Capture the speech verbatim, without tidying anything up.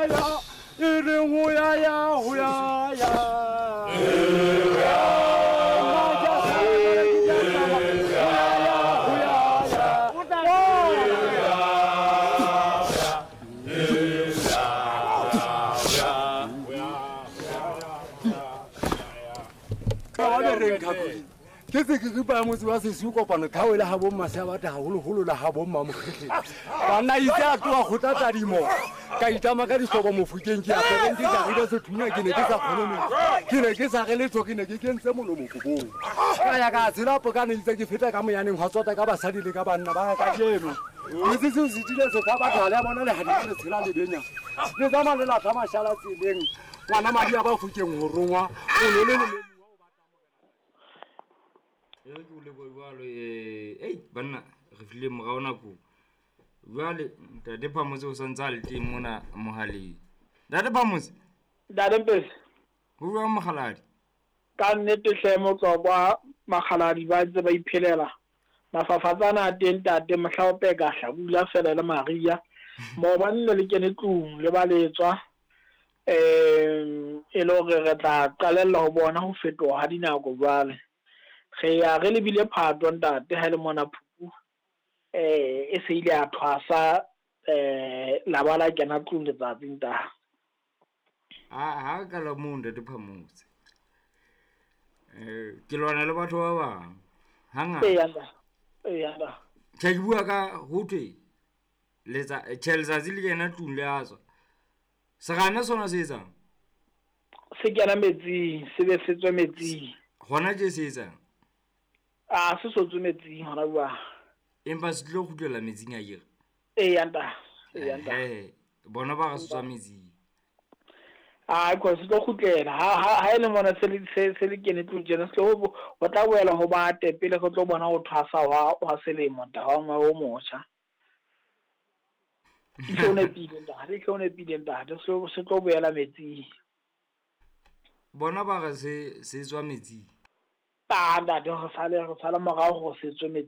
ya e reng ho ya ya ho ya ya ke se ke ripa motse wa sesiu kopano tlhaole ha bo mmase ba ta haholoholo la ha bo mma mokgetleng banna itse a tloha kgotla tadimo ka itama ka dihlobo mofokeng ke apereng ke jarile sethunya ke ne ke sa kgone metsi ke ne ke sa re letho ke ne ke kentse molomo kobong ka ya ka tshela pokane itse ke feta ka moyaneng hwa tsota ka basadi le ka banna ba ka kajeno metse seo se tile se fa batho ha le a bona lehadimo le tshela lebenya le tsamaya le latlha mashala tseleng ngwana madi a ba fokeng ho rongwa o ne le le e re ke o lebohe jwalo eh ei banna re fihlile morao nakong jwale ntate Phamotse o santse a le teng mona mohaleng. Ntate Phamotse. Ntate Mpesi. Ho jwang mokgaladi? Ka nnete hle motswakwa makgaladi ba ntse ba iphelela. Mafafatsana a teng ntate mohla o peka hlabula fela le Maria. Maobane ne le kene tlung le ba letswa. Um e le hore re tla qalella ho bona ho fetoha ha dinako jwale. Re ya re lebile Phato ntate ha le mona Phupu eh e se ile a thwasa eh la ba la kena tlung letsatsi ntate. Ha ha ka la moo ntate Phamotse. Eh ke lwana le batho ba bang. Hangata. Eya ntate. Eya ntate. Tjhe ke bua ka ho thwe letsa tjhe letsatsi le kena tlung le a tswa. Serame sona se etsang? Se kena metsing, se be se tswe metsing. Hona tje se etsang? A se so tswe metsing hona jwale. Empa se tlo kgutlela metsing a kere? Eya ntate. Eya ntate. Eh, bona ba re se tswa metsing. A ko se tlo kgutlela ha ha ha ile mona se le se se le kene tlung tjena se tlo ho tla boela ho bate pele re tlo bona ho thwasa hwa hwa selemo ntate wa ngwaga o motjha. Ke o nepile ntate, ke o nepile ntate, se se tlo boela metsing. Bona ba re se se tswa metsing. Ah ntate re sale re sala morao hore se tswe metsing.